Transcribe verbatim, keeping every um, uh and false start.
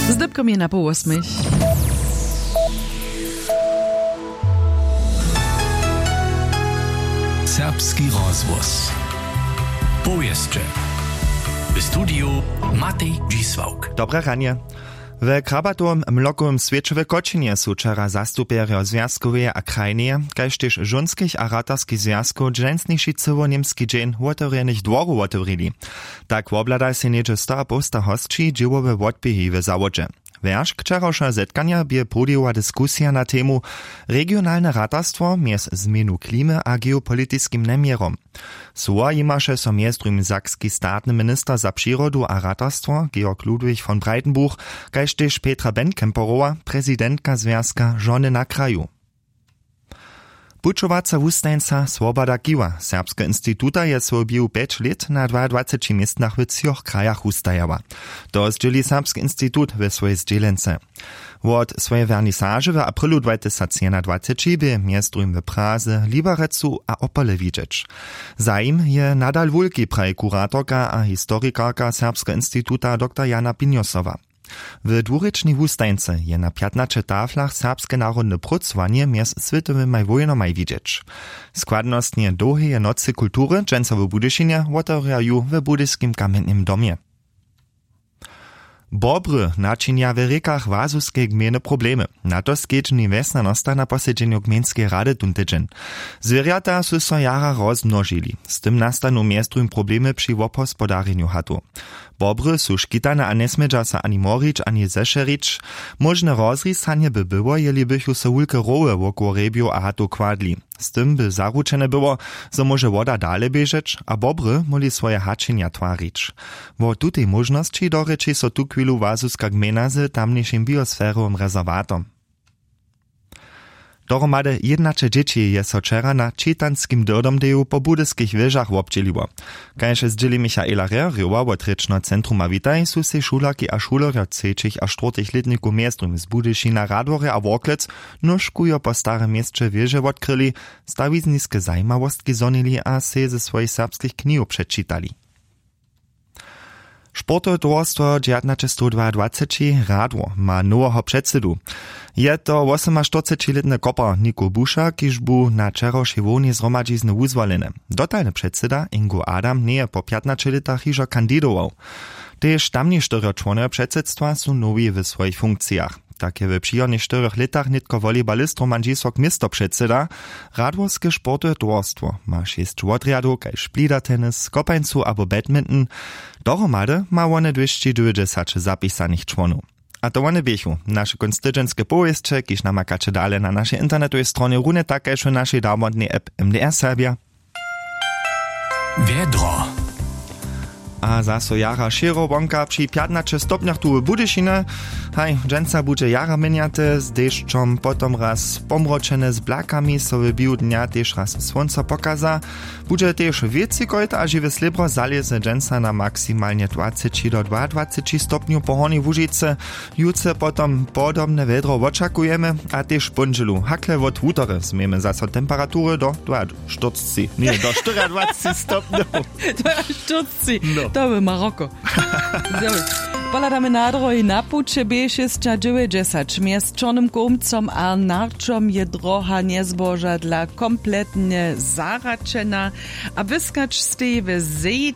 Zdypkom je na poł wosmich. Serbski rozhłos. Powěsće. W studiju Matej Dźisławk. Dobre ranje. We krabatowym mlokowym swěće w Kočinje su wčera zastupjerjo zwjazkoweje a krajneje, kaž tež žónskich a ratarskich zwjazkow dźensniši cyłoněmski dźeń wotewrjenych dworow wotewrili. Tak wobhlada sej něhdźe stoapołsta hosći dźěłowe wotběhi w zawodźe. Wjeršk wčerawšeho zetkanja bě połdźijowa diskusija na temu: regionalne ratarstwo mjez změnu klimy a geopolitiskim njeměrom. Słowa jimaše so mjez druhim sakski statny minister za přirodu a ratarstwo Georg Ludwig von Breitenbuch, kaž tež Petra Benkemperowa, prezidentka zwjazka Žony na kraju. Pućowaca wustajeńca Swoboda Kiwa Serbskeho instituta je swój běhu pjeć lět na dwaadwaceći městnach w třoch krajach wustajała. To zdźěli Serbski institut we swojej zdźělence. Wot swojej wernisaže w aprylu dwatysacjedwaceći bě mjez druhim w Praze, Liberecu a Opole widźeć. Zajim je nadal wulki, praji kuratorka a historikarka Serbskeho instituta dr Jana Pinjosowa. W dwurěčnej wustajeńce je na pjatnaće taflach serbske narodne prócowanje mjez swětowymaj wójnomaj widźeć. Składnostnje dołheje nocy kultury dźensa w Budyšinje wotewrja ju w Budyskim kamjenjnym domje. Bobry načinja w rěkach Łazuskej gmejny problemy. Na to skedźbni wjesnjanosta na posedźenju gmejnskeje rady tón tydźeń. Zwěrjata su so jara rozmnožili. Z tym nastanu mjez druhim problemy při wobhospodarjenju hatow. Bobry su škitane a njesmědźa so ani morić, ani zešerić. Móžne rozrisanje by było, jeli bychu so wulke rowy wokoło hrjebjow a hatow kładli. Z tym by zaručene było, zo móže woda dale běžeć a bobry móhli swoje hačenja twarić. Wo tutej móžnosći dorěči so tuchwilu Łazuska gmejna z tamnišim biosferowym rezerwatom. Dohromady jědnaće dźěći je so wčera na čitanskim dyrdomdeju po budyskich wěžach wobdźěliło. Kaž zdźěli Michaela Rerjowa wot rěčneho centruma Witaj, su sej šulerki a šulerjo třećich a štwórtych lětnikow mjez druhim z Budyšina, Radworja a Worklec nóžkujo po starym měsće wěže wotkryli, stawizniske zajimawostki zhonili a sej ze swojich serbskich knihow přečitali. Sportowe towarstwo dźewjatnaćestowdwaadwaceći Radwor ma noweho předsydu. Je to wosomaštyrcećilětny kopar Niko Buša, kiž bu na wčerawšej hłownej zhromadźizny wuzwoleny. Dotalny předsyda Ingo Adam njeje po pjatnaće lětach hižo kandidował. Tež tamni štyrjo čłonojo předsydstwa su nowi w swojich funkcijach. Tak je w přichodnych štyrjoch lětach nětko wolejbalist Roman Dźisławk město předsyda. Radworske sportowe towarstwo ma šěsć wotrjadow kaž plidatenis, kopańcu abo badminton. Dohromady ma wone dwěsći dwějećdźesać zapisanych čłonow. A to wone běchu naše kónc tydźenske powěsće, kiž namakaće dale na našej internetowej stronje, runje tak kaž w našej darbotnej app M D R Serbja. Wjedro. A zaso jara šěro wonka při pjatnaće stopnjach tu w Budyšinje. Haj, dźensa budźe jara měnjate, z dešćom potom raz pomročene, z blakami so w běhu dnja tež raz słónco pokaza. Budźe tež wěci kojta a žiwe slěbro zalěze dźensa na maksimalnje dwaceći do dwaadwaceći stopnjow po Hornjej Łužicy. Jutře potom podobne wjedro wočakujemy a tež w póndźelu hakle wot wutory změjemy zaso temperatury do dwaštyrcci, ně, do štyriadwaceći stopnjow. Dwaštyrcci. No. To by Maroko. Pohladamy na drohi. Na puće B šěsćadźewjećdźesać mjez Čornym Kołmcom a Narčom je droha njezbožadla kompletnje zahraćena a wyskać stej w zej